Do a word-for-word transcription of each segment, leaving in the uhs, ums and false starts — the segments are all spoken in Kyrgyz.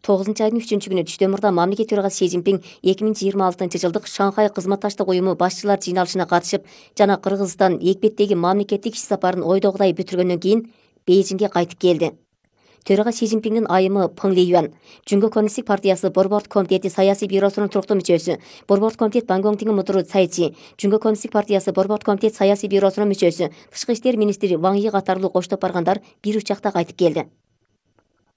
тогузунчу айдын үчүнчү күнү түштөн мурда мамлекет төрагасы Си Цзиньпин эки миң жыйырма алтынчы жылдык Шанхай кызматташтык уюму башчылар жыйналышына катышып жана Кыргызстан экбеттеги мамлекеттик иш сапарын ойдогудай бүтүргөндөн кийин Бейжиңге кайтып келди. Төрага Си Цзиньпиндин айымы Пeng Лиюан, Жумгө коммунисттик партиясы Борбордук комитети саясий бюросунун туруктуу мүчөсү, Борбордук комитет Бангоңтиңин мутуру Цай Ци, Жумгө коммунисттик партиясы Борбордук комитет саясий бюросунун мүчөсү, Тышкы иштер министри Ваң Йи катарлуу коштоп баргандар бир учакта кайтып келди.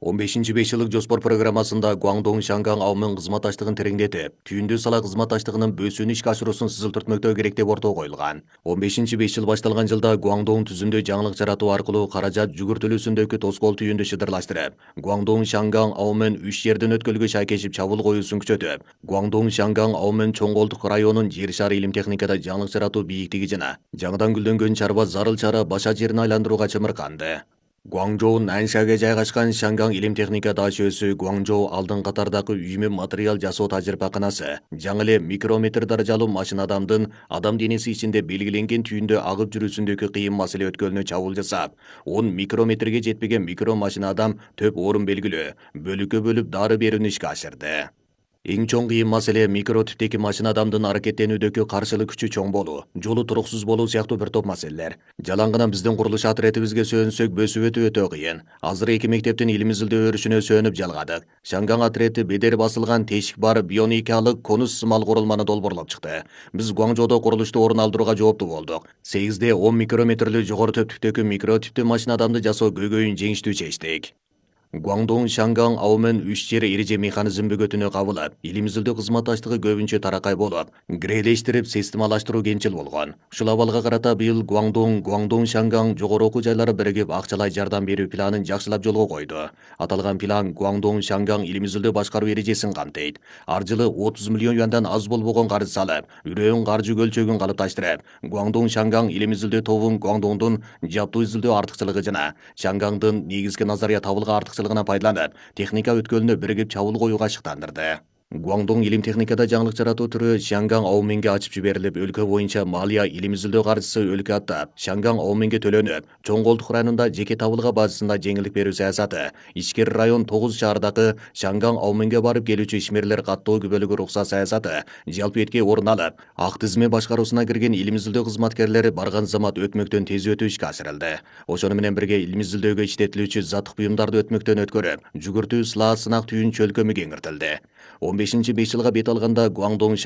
он бешинчи беш жылдык жоспор программасында Гуаңдоң Шангаң аумен кызматташтыгын тереңдетип, түйүндүү сала кызматташтыгынын бөөсүүнү ишке ашыруусун сызылтыртмөктөө керек деп ортого коюлган. он бешинчи беш жыл башталган жылда Гуаңдоң түзүмдө жаңылык жаратуу аркылуу каражат жүгүртүлүүсүндөгү тоскоол түйүндү шыдырлаштырып, Гуаңдоң Шангаң аумен үч жерден өткөлгө шайкешип чабуул коюусун күчөтүп, Гуаңдоң Шангаң аумен чоң колдук районун жер шары илим техникада жаңылык жаратуу бийиктиги жана жаңыдан гүлдөнгөн чарба зарыл чара баша жерин айландырууга чымырканды. Гуаңжоу Наншага жайгашкан Шангаң илим техника дачөсү Гуаңжоу алдын катардагы үймө материал жасоо тажрыйбаканасы, жаңы эле микрометр даражалуу машина адамдын адам денеси ичинде белгиленген түйүндө агып жүрүүсүндөгү кыйын маселе өткөлүнө чабуул жасап, он микрометрге жетпеген микро машина адам төп орун белгилөө, бөлүккө бөлүп дары берүүнү ишке ашырды. Эң чоң кыйын маселе микро типтеги машина адамдын аракеттенүүдөгү каршылык күчү чоң болуу, жолу туруксуз болуу сыяктуу бир топ маселелер. Жалаң гана биздин курулуш отрядыбызга сүйөнсөк бөсүп өтүү өтө кыйын. Азыр эки мектептин илим изилдөө өрүшүнө сүйөнүп жалгадык. Шангаң отряды бедер басылган тешик бар бионикалык конус сымал курулманы долбоорлоп чыкты. Биз Гуаңжоодо курулушту орун алдырууга жооптуу болдук. сегизде он микрометрлүү жогору төптүктөгү микро типтүү машина адамды жасоо көйгөйүн жеңиштүү чечтик. Гуаңдоң Шангаң аумен үч жер эреже механизм бөгөтүнө кабылып, илим изилдөө кызматташтыгы көбүнчө таракай болуп, грелештирип, системалаштыруу кенчил болгон. Ушул абалга карата быйыл Гуаңдоң, Гуаңдоң Шангаң жогору окуу жайлары биригип акчалай жардам берүү планын жакшылап жолго койду. Аталган план Гуаңдоң Шангаң илим изилдөө башкаруу эрежесин камтыйт. Ар жылы отуз миллион юандан аз болбогон карыз салып, үрөөн каржы көлчөгүн калыпташтырып, Гуаңдоң Шангаң илим изилдөө тобун Гуаңдоңдун жаптуу изилдөө артыкчылыгы жана Шангаңдын негизги назария табылга артык пайдаланып, техника өткөлүнө биригип чабуул коюуга шыктандырды. Гуаңдоң илим техникада жаңылык жаратуу түрү Шангаң ауменге ачып жиберилип, өлкө боюнча малия илим изилдөө каржысы өлкө аттап, Шангаң ауменге төлөнүп, чоң колдук районунда жеке табылга базасында жеңилдик берүү саясаты, ичкери район тогуз шаардагы Шангаң ауменге барып келүүчү ишмерлер каттоо күбөлүгү уруксат саясаты жалпы этке орун алып, ак тизме башкаруусуна кирген илим изилдөө кызматкерлери барган замат өтмөктөн тез өтүү ишке ашырылды. Ошону менен бирге илим изилдөөгө иштетилүүчү заттык буюмдарды өтмөктөн өткөрүп, жүгүртүү, сылаа, сынак түйүн чөлкөмү кеңиртилди. он бешинчи беш жылга бет алганда Гуаңдоң